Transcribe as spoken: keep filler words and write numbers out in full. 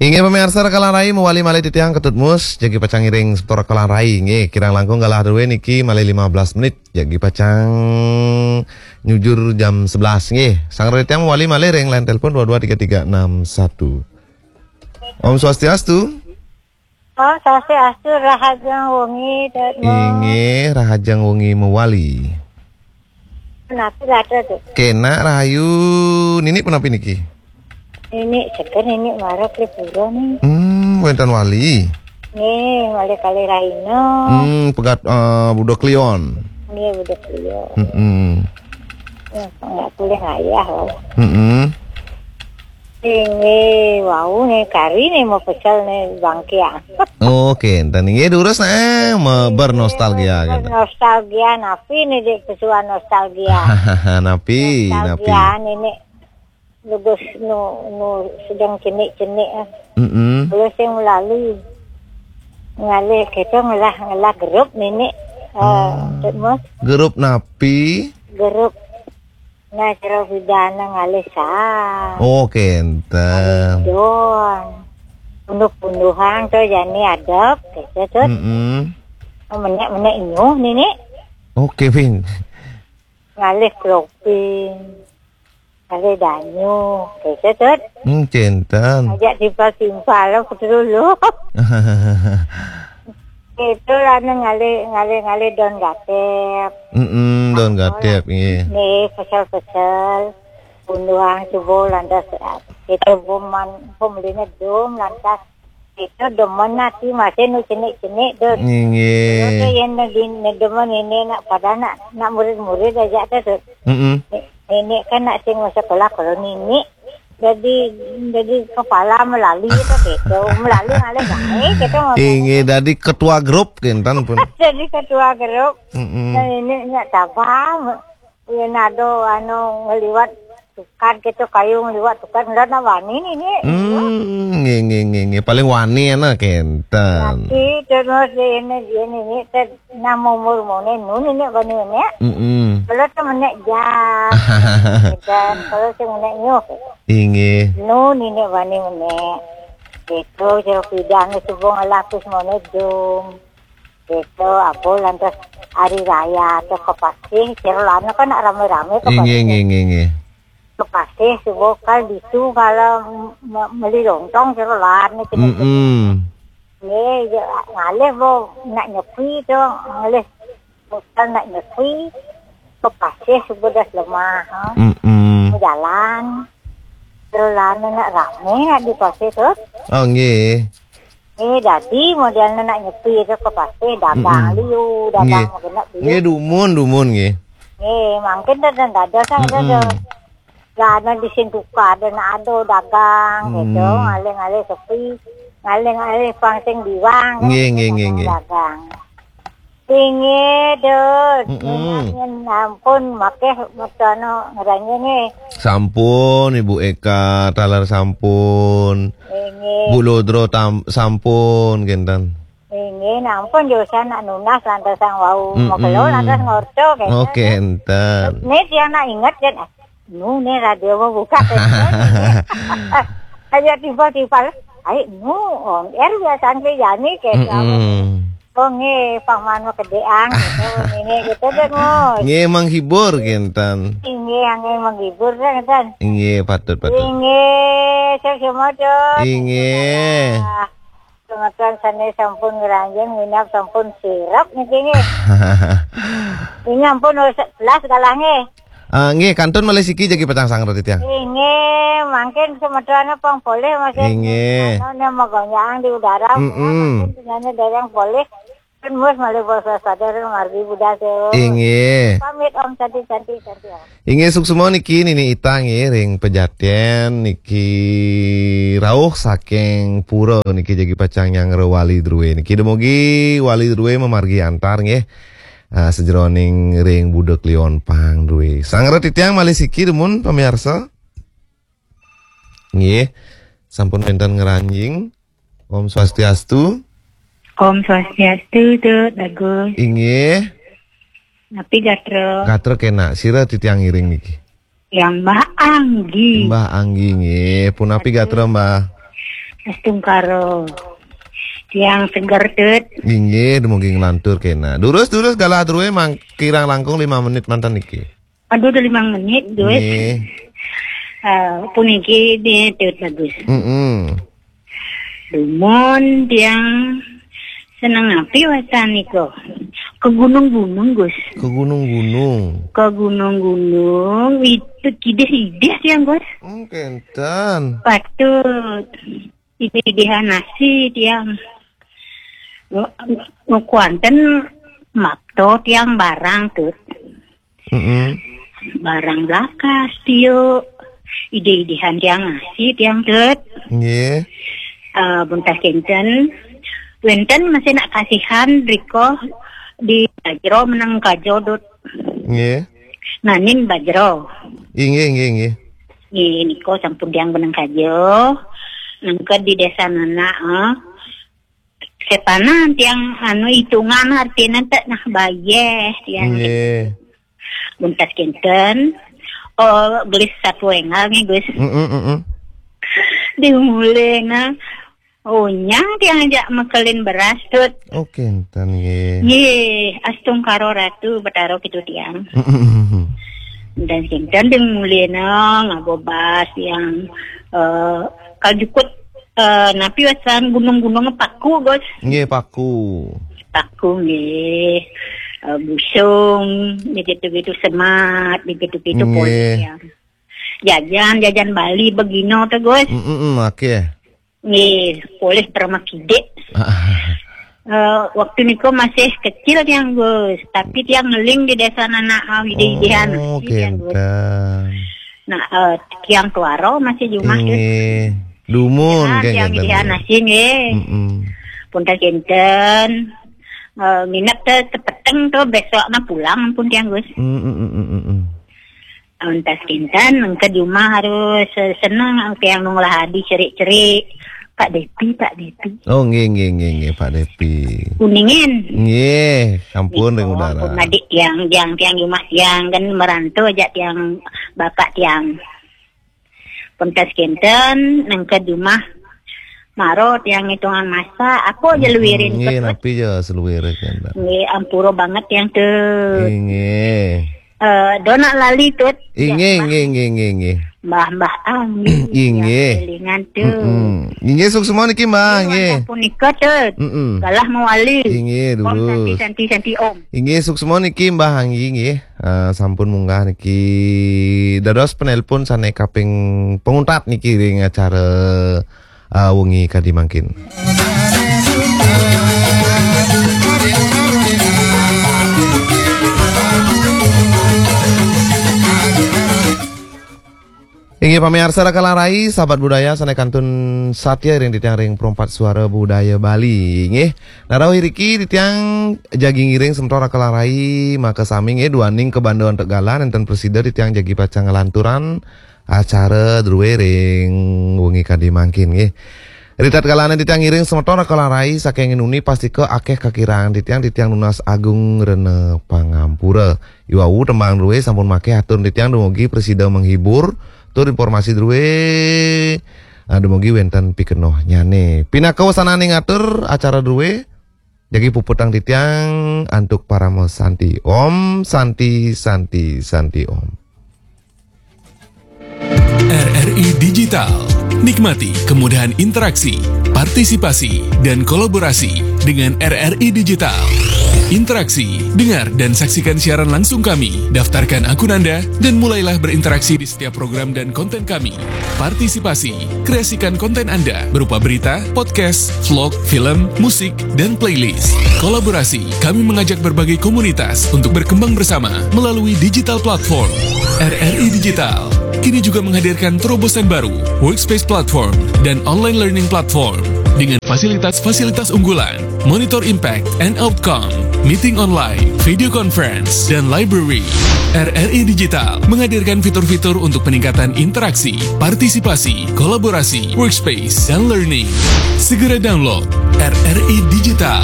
Inggih, pamiarsa, rekalan rai mawali malih titiang Ketut Mus, jagi pacang ngiring semeton rekalan rai. Inggih, kirang langkung galah drué niki malih lima belas menit, jagi pacang nyujur jam sebelas. Inggih, sang titiang mawali malih ring line telepon dua dua tiga tiga enam satu. Om Swastiastu. Oh, Swastiastu, rahajeng wengi, Tet Mo. Inggih, rahajeng wengi mawali. Punapi gatra, Tet? Kenak rahayu. Nini punapi niki? Nini seger, nini mara ka pura ni. Hmm, wénten wali. Nggih, malih kalih rahina. Hmm, pegat, eh, Buda Kliwon. Nggih, Buda Kliwon. Mm-mm. Ya, nggak boleh ngayah, wau. Mm-mm. Inggih, wau nih kari nih mau pecel nih bangkiang. Oke, enten inggih durus nih, eh, me-, bernostalgia kan. Nostalgia, napi nih, Dik, pesuan nostalgia? Napi, napi? Nostalgia nih, nih. Lugus nu, nu sedang cenik-cenik, eh. Mm-mm. Kalau sing melalui ngalih kita ngelah, ngelah grup nini, eh, Hmm. Tet Mus. Grup napi? Grup. Nah, cara pidana ngalih sa. Oh, kenten. Ngalih don. Punduh-punduhan to jani adep, gitu, Tet. Mm-mm. Menek-menek inyuh nini. Oke, Pin. Ngalih kloping. Ngalih danyu, gitu, Tet. Hmm, kenten. Ajak timpal-timpal, Tet, dulu. Itu lah ngalih, ngalih, ngalih don gatep. Mm-mm, don gatep, nggih. Nggih, pecel-pecel. Punduhan subuh lantas, eh, kita buman, pemelinya dum lantas. Kita demen ati masih nu cenik-cenik, Tet. Nggih. Kalau tu yang nagi, nagi demen ini nak pada nak, nak murid-murid aja, Tet. Mm-mm. Ni-, nini kan nak sing sekolah kalau nini. Jadi, jadi kepala melalui itu, gitu. Melalui ngalih baik, gitu, mau Inggih, dadi ketua grup kenten pun. Jadi ketua grup. Mm-mm. Nah, ini nak sabar. Yen ada anu ngeliwat tukad gitu, kayu ngeliwat tukad, ndak nak wani nini. Hmm, nggih, nggih, nggih, nggih. Paling wani ana kenten. Tapi terus ini, ini, ini, Tet, nama umur mone, nu nini wani mone. Mm-mm. Kalau tu menek jas. Dan kalau si menek nyuh. Inggih. Nu nini wani mone. Itu, jero pidang, subuh ngelapis mone dum. Gitu, apa lantas hari raya atau ke pasih, sira lana kan nak rame-rame ke Inggih, pasih. Inggih, inggih, inggih. Ke pasih, subuh kal ditu, kalau me-, meli lontong, sira lana gitu. Mm-mm. Nggih, ya, ngalih, Bu, nak nyepi tu, ngalih, bukan nak nyepi, ke pasih, subuh dah lemah, ha. Mm-mm. Jalan, sira lana nak rame, nak di pasih tu. Oh, nggih. Eh, dadi modelnya nak nyepi itu ke pasih, dagang Mm-mm. liu, dagang Nggih. Kena beli. Nggih, dumun, dumun, nggih. Eh, mungkin dah, dah, dah, dah, dah, Mm-mm. Dah. Lah, ada di sini tukar, ada nak ada dagang, gitu. Hmm. Ngalih-ngalih sepi, ngalih-ngalih pang sing biwang, Nggih, nggih, nggih, nggih. Dagang. Inggih, Dut. Mm-mm. Nggih, ampun, makeh mertano ngeranjing, nggih. Sampun, Ibu Eka, taler sampun. Inggih. Bu Lodro tam-, sampun, kenten. Inggih, ampun, yo, saya nak nunas lantas sang wau. Mm-mm. Makelo lantas ngorto, kenten. Oh, kenten. Nih, dia nak inget, kan? Nu, nih radio mau buka, kan? Aja tiba-tiba, "Ai, nu, on air biasanya, Jani," kayak Mm-mm. Oh, nggih, paman mau kedeang, gitu, ini, gitu, deh, Mus. Nggih, menghibur, kenten. Inggih, nggih, menghibur, deh, kenten. Inggih, patut, patut. Inggih, saya semua, Dut. Inggih. Ah, semeton sane sampun ngranjing, minab sampun sirep niki, nggih. Ini ampun, wis sebelas kalah, nggih. Ah, nggih, kantun malih siki jagi pacang sang roti tiang. Inggih, mangkin semeton pang polih, Mas. Inggih. Anu, nih, magonjang di udara, Mm-mm. mangkin senyane dereng polih. Kan, Mus, malih bos sadar margi budal, Mas. Inggih. Pamit, Om, cantik, cantik, cantik, Om. Inggih, suksma niki Nini Ita nggih ring Pejaten niki rauh saking pura niki jagi pacang nyanggra wali drué niki. Dumugi wali drué mamargi antar nggih. Ah, sajeroning ring Buda Kliwon pang drué. Sang roti tiang malih siki dumun pamiarsa. Nggih. Sampun wénten ngranjing. Om Swastiastu. Om Swastiastu, Dut Agus. Inggih. Napi gatra? Gatra kénak. Sira titiang ngiring niki. Yang Mbah Anggi. Mbah Anggi nggih. Punapi gatra, Mbah? Astungkara. Tiang seger, Tut. Inggih, dumugi nglantur kena. Durus, durus, galah drué mang-, kirang langkung lima menit manten niki. Aduh, udah lima menit, Gus. Nggih. Eh, puniki di Tut Bagus. Mm-mm. Dumun tiang seneng api wasan niku. Ke gunung-gunung, Gus. Ke gunung-gunung. Ke gunung-gunung, itu kidih-idih tiang, Gus. Hmm, kenten. Patut. Idih-idihan nasi tiang. Ngu-, ngukuanten mapto tiang barang, Tut. Mm-mm. Barang lakas, tiuk. Idih-idihan tiang nasi tiang, Tut. Nggih. Eh, buntas kinten. Wenten masih nak kasihan riko di Bajro meneng kajo, Tut. Nggih. Nanin Bajro. Inggih, inggih, inggih. Nggih, niko sampun tiang meneng kajo. Nengked di desa nana, eh. Sepanan tiang anu hitungan artinya tak nah bayeh tiang. Nggih. Buntas kinten. Oh, gelis satu engal nih, Gus. Mm-mm, mm-mm. Di mulai nah. Oh, nyang tiang ajak mekelin beras, Tut. Oh, kinten nggih. Nggih, astungkara Ratu Betara gitu tiang. Mm-mm. Dan kinten ding mulai nah ngagobas tiang, eh, kal jukut, eh, napi wasan gunung-gunung paku, Gus. Nggih, paku. Paku nggih. Eh, busung, begitu-begitu semat, begitu-begitu. Nggih. Polih tiang. Jajan, jajan Bali begino tuh, Gus. Mm-mm, oke. Nggih, polih permakide. Eh, waktu niku masih kecil tiang, Gus, tapi tiang ngeling di desa nana awide-idehan. Oh, masih tiang, Gus. Kenten. Nah, eh, tiang tuaro masih jumah, Gus. Inggih. Dumun. Nah, kayak tiang kenten, idehan nggih. Nasi nggih. Mm-mm. Pun tak kinten, eh, nginep teh tepeteng tuh besok mah pulang pun tiang, Gus. Mm-mm, mm-mm, mm-mm. Untas kinten, engke di rumah harus, eh, seneng, tiang nunglah adi cerik-cerik. Pak Depi, Pak Depi. Oh, nggih, nggih, nggih, nggih, Pak Depi. Kuningin. Nggih, ampun, ring udara. Ampun, adik tiang, tiang, tiang di rumah tiang, kan merantau aja tiang, bapak tiang. Pentas kinten, nengke di rumah. Maro tiang hitungan masa, apa aja luirin. Nggih, napi aja seluir kinten. Nggih, ampura banget tiang tuh. Nggih. Eh, dona lali, Tut. Inggih, ya, inggih, inggih, inggih, inggih. Mbah-mbah Anggi. Inggih. Yang kelingan, Tut. Mm-mm. Inggih, suksma niki, Mbah, inggih. Punika, Tut. Mm-mm. Galah mawali. Inggih, om durus. Santi, santi, santi, om. Inggih, suksma niki, Mbah Anggi, nggih. Eh, sampun munggah niki. Dados penelpon sane kaping penguntat niki ring acara ah, wengi kadi mangkin. Inggih pamiarsa Raka Larai, sahabat budaya sane kantun satya ring titiang ring Perempat Suara Budaya Bali. Inggih, nah rauh iriki titiang jagi ngiring semeton Raka Larai, maka sami nggih duaning kabanda antuk galah nenten prasida titiang jagi pacang nglanturang acara druwe ring wengi kadi mangkin nggih. Ritatkala titiang ngiring semeton Raka Larai saking nuni pastika akeh kakirang titiang, titiang nunas agung rena pangampura. Iwau tembang druwe sampun makeh atur titiang dumugi prasida menghibur tur informasi druwe, ah, dumugi wenten pikenohnyane. Pinaka wasananing atur acara druwe, jagi puputang titiang antuk parama santi. Om Santi, Santi, Santi Om. R R I Digital. Nikmati kemudahan interaksi, partisipasi, dan kolaborasi dengan R R I Digital. Interaksi, dengar dan saksikan siaran langsung kami, daftarkan akun Anda, dan mulailah berinteraksi di setiap program dan konten kami. Partisipasi, kreasikan konten Anda berupa berita, podcast, vlog, film, musik, dan playlist. Kolaborasi, kami mengajak berbagai komunitas untuk berkembang bersama melalui digital platform. R R I Digital kini juga menghadirkan terobosan baru, workspace platform, dan online learning platform dengan fasilitas-fasilitas unggulan, monitor impact and outcome, meeting online, video conference, dan library. R R I Digital menghadirkan fitur-fitur untuk peningkatan interaksi, partisipasi, kolaborasi, workspace, dan learning. Segera download R R I Digital.